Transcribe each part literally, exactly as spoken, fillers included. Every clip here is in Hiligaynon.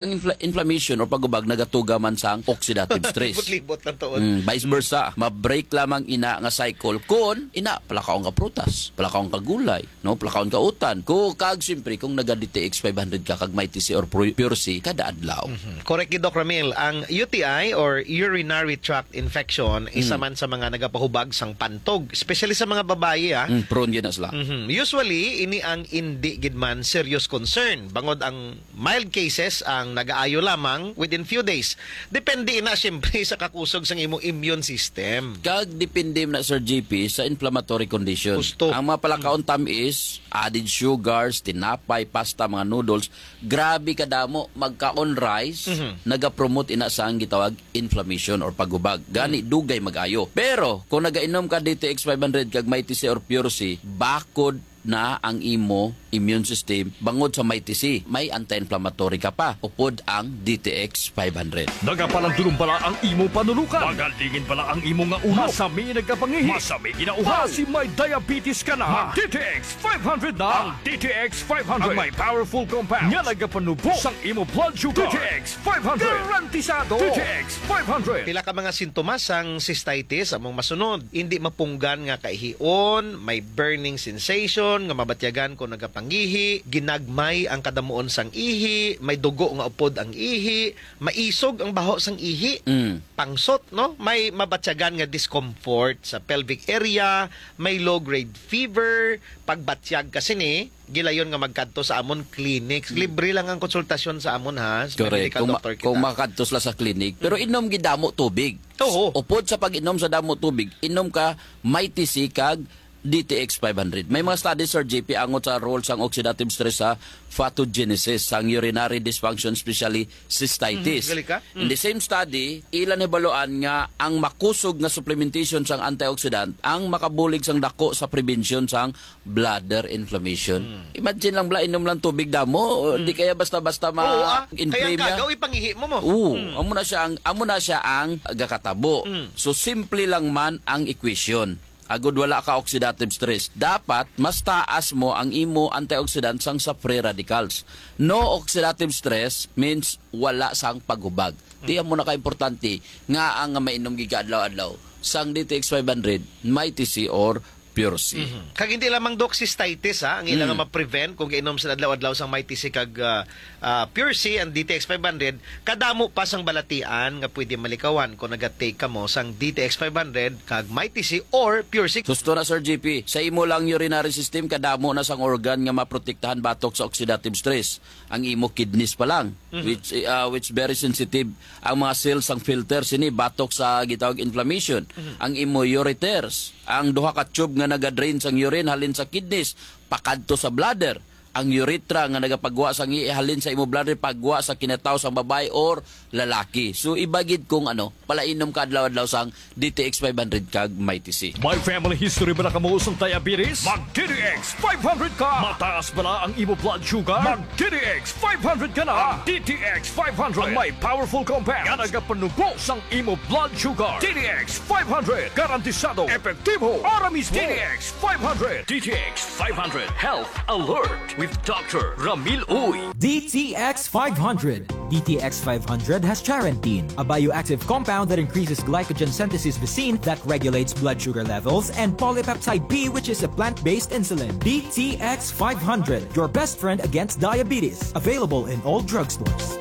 Ang infla-, inflammation or pag-ubag nagatuga man sang oxidative stress. Libot-libot lang tuod. Mm, vice versa, ma-break lamang ina nga cycle kon ina palakaon ka prutas, palakaon ka gulay, no, palakaon ka utan. Ko kag siyempre kung naga D T X five hundred ka kag Mighty C or Pure, Pure C kada adlaw. Mhm. Correct gid, Doc Ramil. Ang U T I or urinary tract infection, isa Mm. man sa mga nagapahubag sang pantog, especially sa mga babayi, ah. Mm, prone gyud na sila. Mhm. Usually, ini ang indi gid man serious concern, bangod ang mild cases ang nagaayo lamang within few days. Depende na, siyempre, sa kakusog sang imong immune system. Kag depende na, Sir G P, sa inflammatory condition. Husto. Ang mga palakaon tamis, added sugars, tinapay, pasta, mga noodles, grabe kadamo, magkaon rice, Mhm. nagapromote ina sang gitawag inflammation or pagubag. Gani, Mm. dugay mag-ayo. Pero, kung nagainom ka D T X five hundred kag Mighty C or Pure C, bakod na ang imo immune system bangod sa Mighty C. May anti-inflammatory ka pa, upod ang D T X five hundred. Nagapalandulong bala ang imo panulukan? Magalingin bala ang imo nga ulo? Masami nagkapangihi? Masami ginauhaw? Basi may diabetes ka na? Mag D T X five hundred na. Ang D T X five hundred. Ang may powerful compound nga nagapanubo sang imo blood sugar. D T X five hundred. Garantisado. D T X five hundred. Pila ka mga sintomas sang cystitis among masunod? Hindi mapunggan nga kaihion, may burning sensation nga mabatyagan kung nagapangihi, ginagmay ang kadamuon sang ihi, may dugo nga upod ang ihi, maisog ang baho sang ihi, Mm. pangsot, no? May mabatyagan nga discomfort sa pelvic area, may low-grade fever, pagbatyag ka sini, gilayon nga magkadto sa amon clinics. Mm. Libre lang ang konsultasyon sa amon, ha, sa Correct. medical Kung ma-, doctor kita. kung makadto sila sa clinic, pero Mm. inom gid damo tubig. Oo. Upod sa pag-inom sa damo tubig, inom ka Mighty C kag D T X five hundred. May mga studies, Sir J P, angot sa role sang oxidative stress sa pathogenesis sang urinary dysfunction, especially cystitis. Mhm, gali ka? In Mm. the same study, ila nahibaluan nga ang makusog nga supplementation sang antioxidant ang makabulig sang dako sa prevention sang bladder inflammation. Mm. Imagine lang, bla, inom lang tubig damo, o Mm. di kaya basta-basta Oo, ah. Kaya ma-inflame ang niya. kagaw, ipangihi mo mo. Oo, Mm. amo na siya ang, amo na siya ang gakatabo. Mm. So, simple lang man ang equation. Agud wala ka oxidative stress, dapat mas taas mo ang imo antioxidant sang sa free radicals. No oxidative stress means wala sang paghubag. Ti Mm. amo na ka importante nga ang mainom gid ka adlaw-adlaw sang D T X five hundred, Mighty C or Pure C. Mhm. Kag hindi lamang, Doc, cystitis, ha, ang ila nga Mm. ma-prevent kung gainom sila adlaw-adlaw sang Mighty C kag, ah, ah, Pure C and D T X five hundred, kadamo pa sang balatian nga pwede malikawan kung naga-take kamo sang D T X five hundred kag Mighty C or Pure C. Husto na, Sir J P, sa imo lang urinary system, kadamo na sang organ nga maprotektahan batok sa oxidative stress. Ang imo kidneys pa lang, Mhm. which, ah, which very sensitive ang mga cells sang filter sini batok sa gitawag inflammation. Mhm. Ang imo ureters, ang duha ka tube nga nagadrain sang urine halin sa kidneys pakadto sa bladder. Ang urethra nga nagapagwa sang ihi halin sa imo bladder pagwa sa kinataw sang babayi or lalaki. So, iba gid kung ano, palainom ka adlaw-adlaw sang D T X five hundred kag Mighty C. May family history bala kamo sang diabetes? Mag D T X five hundred ka! Mataas bala ang imo blood sugar? Mag D T X five hundred ka na! Ang D T X five hundred ang may powerful compound nga nagapanubo sang imo blood sugar. D T X five hundred, garantisado, epektibo, ahora mismo. D T X five hundred. D T X five hundred Health Alert with Doctor Ramil Uy. D T X five hundred. D T X five hundred has charantine, a bioactive compound that increases glycogen synthesis vacin that regulates blood sugar levels, and polypeptide B, which is a plant-based insulin. D T X five hundred, your best friend against diabetes. Available in all drugstores.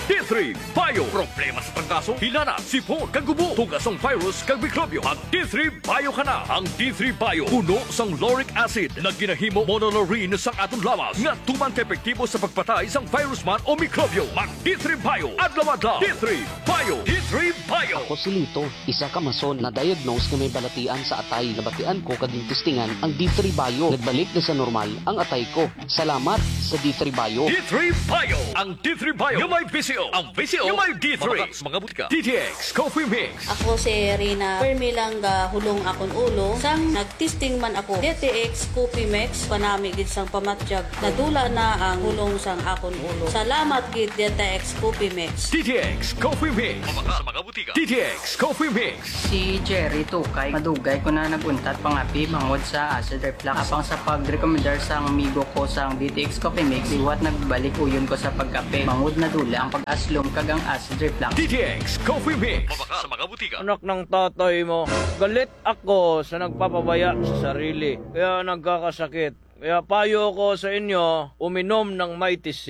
D three Bio. Problema sa trangkaso, hilanat, sipon, kag ubo, tuga sang virus kag mikrobyo. Mag D three Bio ka na. Ang D three Bio puno sang lauric acid na ginahimo monolaurin sang aton lawas nga tuman ka epektibo sa pagpatay sang virus man o mikrobyo. Mag D three Bio adlaw-adlaw. D three Bio. D three Bio. Ako si Lito, isa ka mason na diagnose nga may balatian sa atay. Nabatian ko kag gintistingan ang D three Bio. Nagbalik na sa normal ang atay ko. Salamat sa D three Bio. D three Bio. Ang D three Bio nga may B C Ang presyo nga may D three. Mabakal sa mga butika. D T X Coffee Mix. Ako si Rina. Permi lang gahulong akon ulo. Sang nag-testing man ako, D T X Coffee Mix, panami gid sang pamatyag. Nadula na ang hulong sang akon ulo. Salamat gid, D T X Coffee Mix. D T X Coffee Mix. Mabakal sa mga butika. D T X Coffee Mix. Si Jerry Tukay, madugay ko na nag-untat pangapi bangod sa acid reflux. Apang sa pagrekomendar sang amigo ko sang D T X Coffee Mix, liwat nagbalik uyon ko sa pagkape bangod nadula ang pag-aslom kag ang acid reflux. D T X Coffee Mix. Mabakal sa mga butika. Anak ng tatay mo, galit ako sa nagpapabaya sa sarili, kaya nagkakasakit. Kaya payo ko sa inyo, uminom ng Mighty C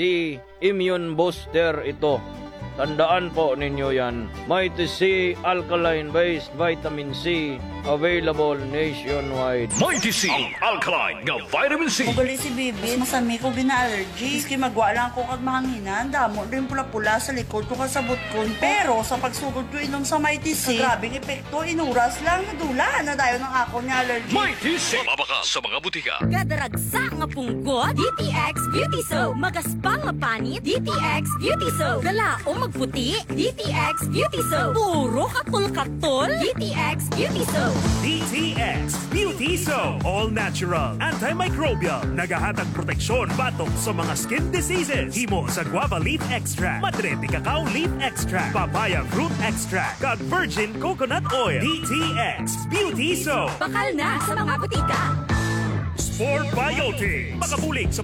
Immune Booster ito. Tandaan po ninyo yan. Mighty C Alkaline Based Vitamin C, available nationwide. Mighty C, ang alkaline nga vitamin C. Ugali si Bibi, masami ko gina-allergy. Maski magwa lang ako kag mahanginan, damo din pula-pula sa likod ko kag sa butkon ko. Pero sa pagsugod ko inom sa Mighty C, grabing epekto, inuras lang, nadula na dayon ang akon nga allergy. Mighty C. Mabakal sa mga butika. Gadaragsa nga punggod, D T X Beauty Soap. Magaspang nga panit, D T X Beauty Soap. Galaom magputi, D T X Beauty Soap. Puro katol-katol, D T X Beauty Soap. D T X Beauty Soap. All natural, antimicrobial, nagahatag proteksyon batok sa mga skin diseases. Himo sa guava leaf extract, madre de cacao leaf extract, papaya fruit extract, kag virgin coconut oil. D T X Beauty Soap. Bakal na sa mga butika. Spore Biotics. Makabulig sa